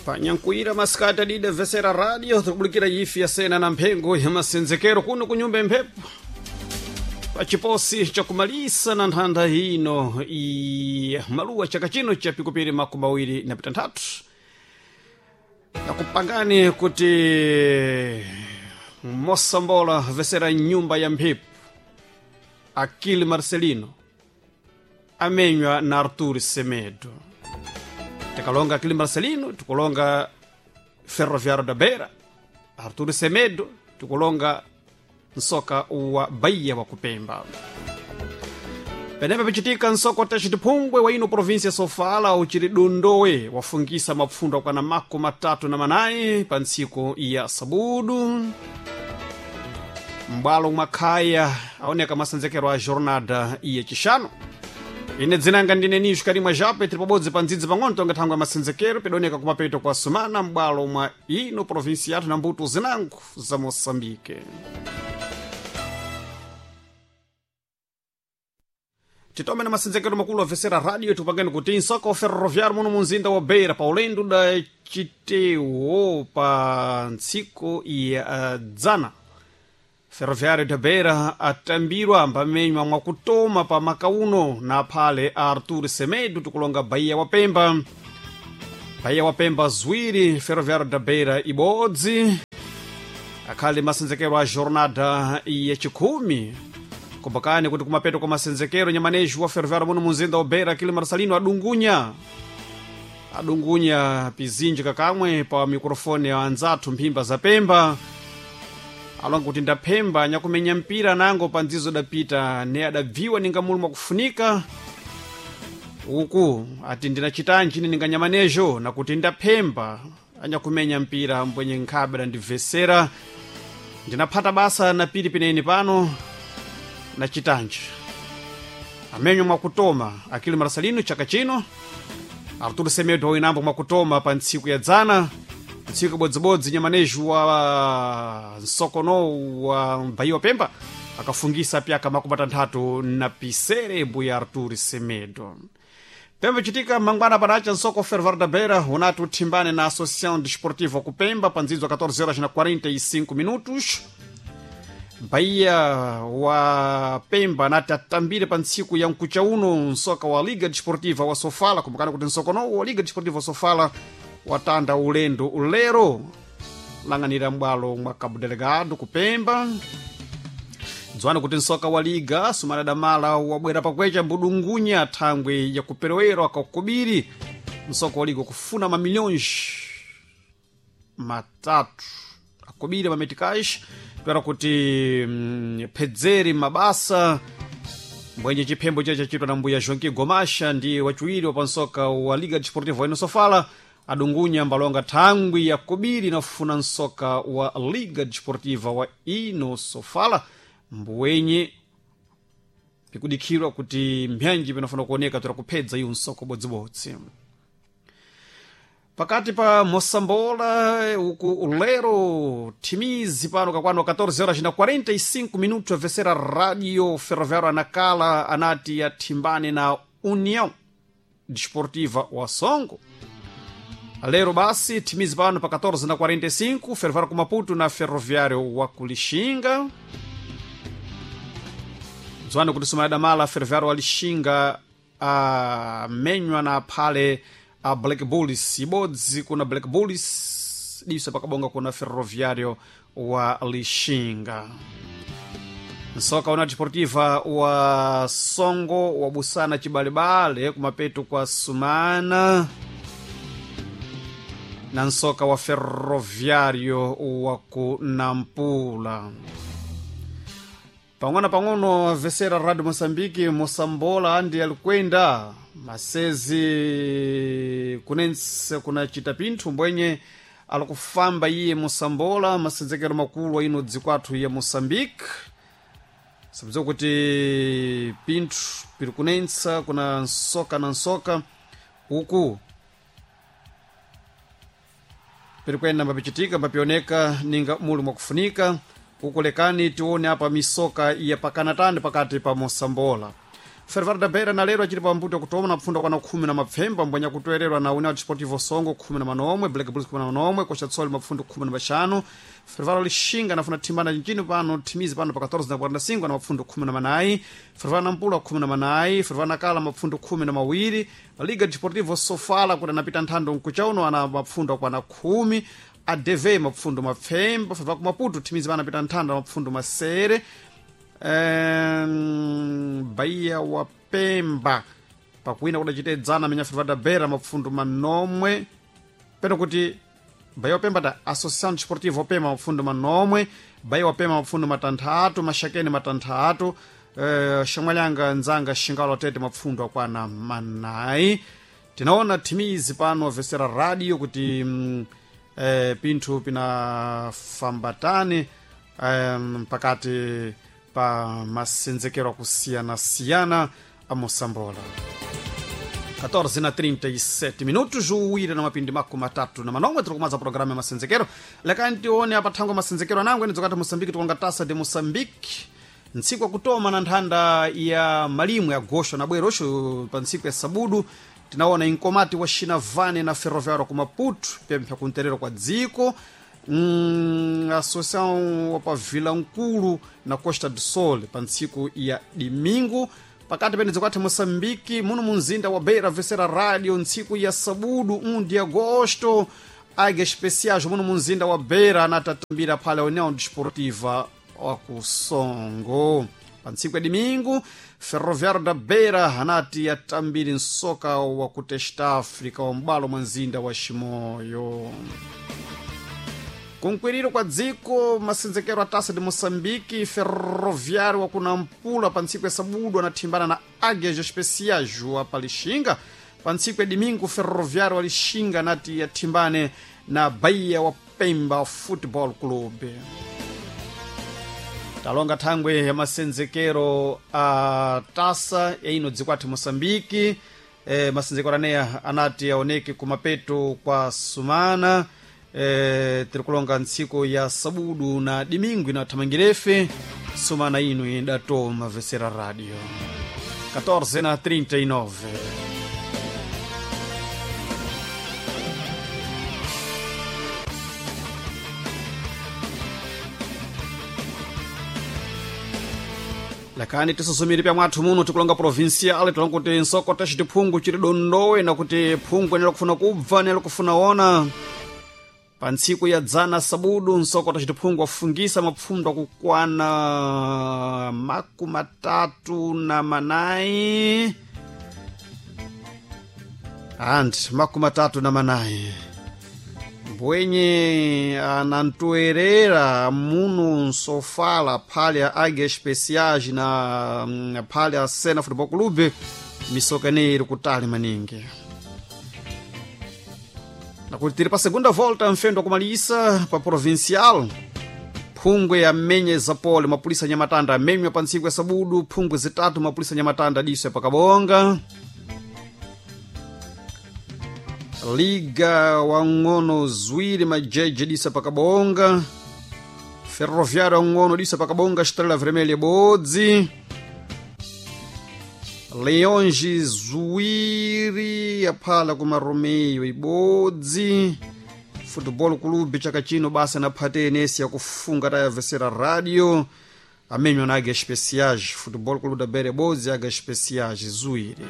Panyankuira masikati adida vesera radio tikubulikira ifi yasena na mphengo ya masenzekero kuno kunyumba imphepo pachiposi chakumalisa na nthanda ino ya maluwa chaka chino cha pikupiri 23 nakupangani kuti mosambola vesera nyumba ya mphepo Akili Marcelino amenywa na Artur Semedo. Tikalonga Akili Marcelino tikulonga Ferroviário da Beira, Artur Semedo tikulonga nsoka wa Bahia wa Kupemba. Penepa pichitika nsoko wa Tachitiphungwe wa ino província Sofala uchiri Dondowe wafungisa mapfundo akwana 34 pa ntsiku ya sabudu. M'bwalo mwa khaya aoneka masenzekero a jornada ya chixano. Ine dzinanga ndine Nisho Karimwa Jape, tiri pabodzi pa ndzidzi pang'ono tonga thangwe ya masenzekero pidoneka kumapeto kwa sumana m'bwalo mwa ino província yathu na mbuto zinango za Moçambique. Titome na masenzekero makulu avesera radio tupangeni kuti nsoko ferroviário muno munzinda wa Beira pa ulendo da chitewo pa ntsiku ya dzana. Ferroviário da Beira atambirwa mbamenywa mwakutoma pa makauno na phale a Artur Semedo tikulonga Bahia wa Pemba. Bahia wa Pemba ziwiri, Ferroviário da Beira ibodzi. Akhali masenzekero a jornada yachikhumi. Kumbukani kuti kumapeto kwa masenzekero nyamaneji wa Ferroviário muno munzinda wa Beira Akili Marcelino adungunya pizinji kakamwe pa mikrofoni ya anzathu mphimba za Pemba. Alonga kuti ndaphemba nyakumenya mpira nango pa ndzizo dapita ne adabviwa ninga mulu mwakufunika uku ati ndinachitanji ine ninganyamanejo nakuti ndaphemba anyakumenya mpira mbwenye nkhabe dandibvesera ndinaphata basa na pili peneni pano nachitanji amenyo mwakutoma Akili Marcelino chaka chino. Artur Semedo winambo mwakutoma pa ntsiku ya dzana, ntsiku ibodzibodzi nyamaneji wa nsokono wa Bahia wa Pemba akafungisa pyaka 36 mbuya Artur Semedo. Pemba chitika mangwana padacha nsoko Ferroviário da Beira unati uthimbane na Associação Desportiva Kupemba pa ndzidzo 14 horas na 45 minutos. Bahia wa Pemba nati atambire pa ntsiku ya mkucha uno nsoka wa Liga Desportiva wa Sofala. Kumbukani kuti nsokono wa Liga Desportiva wa Sofala watanda ulendo ulero lang'anira m'bwalo mwa Cabo Delgado kupemba. Dziwani kuti nsoka wa liga sumana damala wabwera pakwecha mbudungunya thangwe ya kuperewero akakubiri nsoka wa liga kufuna mamilhões matatu akubiri mameticais toera kuti phedzeri mabasa mbwenye chiphembo chiya chachitwa na mbuya Joaquim Gomasha ndi wachiwiri wapansoka wa Liga Desportiva wa Sofala adungunya mbalonga thangwi ya kubiri nafuna nsoka wa Liga Desportiva wa ino Sofala mbwenye pikudikhirwa kuti mbyanji pinafuna kuoneka toera kuphedza iwo nsoko bodzibodzi. Pakati pa Moçambola uku ulero thimizi pano kakwano 14 horas na 45 minutos avesera radio Ferroviário anakala anati athimbane na União Desportiva wa Songo. Lero basi thimizi pano pa 14 na 45 Ferroviário ku Maputo na Ferroviário wa Kulixinga. Dziwani kuti sumaya damala Ferroviário wa Lixinga amenywa na phale a Black Bulls ibodzi kuna Black Bulls diso pakabonga kuna Ferroviário wa Lixinga. Nsoka una Desportiva wa Songo wabusana chibalebale kumapeto kwa sumana na nsoka wa Ferroviário wa ku Nampula. Pang'ono pang'ono avesera Radio Moçambique Moçambola andi alikwenda masezi kunense kunachita pinthu mbwenye alikufamba iye Moçambola masenzekero makulu aino dziko athu ya Moçambique. Sabza kuti pinthu piri kunensa kuna nsoka na nsoka uku piri kuyenda mbapichitika mbapioneka ninga muli mwakufunika. Ukulekani tione apa misoka ya pakanatani pakati pa Moçambola. Ferroviário da Beira na lero achiri pambuto kutoma na pfunda kwana khumi na mapfemba mbwenya kutoererwa na União Desportivo Songo 19, Black Bulls 19, Costa do Sol mapfundo 15. Ferroviário Lixinga nafuna thimbana nchini pano thimizi pano pa 14 na 45 na mapfundo 14. Ferroviário Nampula 14, Ferroviário Nacala mapfundo 12. Liga Desportivo Sofala kuti anapita nthando nkuchauno ana mapfundo akwana 10. ADV mapfundo mapfemba. Ferroviário Maputo thimizi pano apita nthando mapfundo masere. Bahia wa Pemba pakuwina kudacitedzana amenya Ferroviário da Beira mapfundo manomwe peno kuti Bahia wa Pemba da Associação Desportiva Pemba mapfundo manomwe, Bahia wa Pemba mapfundo matanthatu, Maxakene matanthatu, Xamwalhanga nzanga Xingalo Tete mapfundo akwana manayi. Tinaona thimizi pano vesera radio kuti pinthu pinafambatani pakati pa masenzekero akusiyana-siyana a Moçambola. 14 na 37 minutos uwire na mapindi mako matatu na manomwe tiri kumadza programa ya masenzekero. Lekani tione apa thangwe masenzekero anango enidzokati Moçambique tikonga tasa de Moçambique ntsiku akutoma na nthanda ya malimwe ya gosho na bwerosho pa ntsiku ya sabudu tinaona inkomati wa Xinavane na Ferroviário ku Maputo pempha kunterero kwa dziko. Associação wa pa Vila Nkulu na Costa do Sol pa ntsiku ya domingo. Pakati pene dzikwati Moçambique muno munzinda wa Beira vesera radio ntsiku ya sabudu 1 de agosto Águia Especiais muno munzinda wa Beira anatatambira phala União Desportiva wa Kusongo. Pa ntsiku ya domingo Ferroviário da Beira anati yatambiri nsoka wa kutesta África wa m'balo mwa mzinda wa Chimoio. Kunkwiriro kwa dziko masenzekero a taça de Moçambique, Ferroviário wa kunampula pa ntsiku ya sabudu anathimbana na Águias Especiais wa pa Lixinga. Pa ntsiku ya domingo Ferroviário wa Lixinga anati yathimbane na Bahia wa Pemba Football Club. Talonga thangwe ya masenzekero a taça ya ino dziko athu Moçambique. Masenzekero aneya anati aoneke kumapeto kwa sumana. Tiri kulonga ntsiku ya sabudu na dimingu inathamangirefe sumana ino idatoma vesera radio 14 na 39. Lakani tisuzumire pya mwathu muno tikulonga provincial tilonga kuti nsoko taxiti phungu chiri dondowe na kuti phungu enela kufuna kubva enela kufuna ona. Pa ntsiku ya dzana sabudu nsoko tacitiphungu afungisa mapfundo akukwana 34 and 34 mbwenye anantoerera muno nsofala phale ya Águia Especiais na phale ya Sena Futebol Clube misoka ineyi iri kutali maningi. Nakuti tiri pa segunda volta mfendo akumalisa pa provincial phungwe amenye zapole mapulisa nyamatanda amenywa pa ntsiku ya sabudu phungwe zitatu mapulisa nyamatanda diso pakabonga. Liga wang'ono ziwiri majeje disa pakabonga. Ferroviário wang'ono disa pakabonga Estrela Vermelha bodzi. Leonge ziwiri aphala kuma Romeo ibodzi. Football Clube chaka chino basa na phate enesi yakufunga tayavesera radio amenywa na Águia Especiais. Football Clube da Beira bodzi Águia Especiais ziwiri.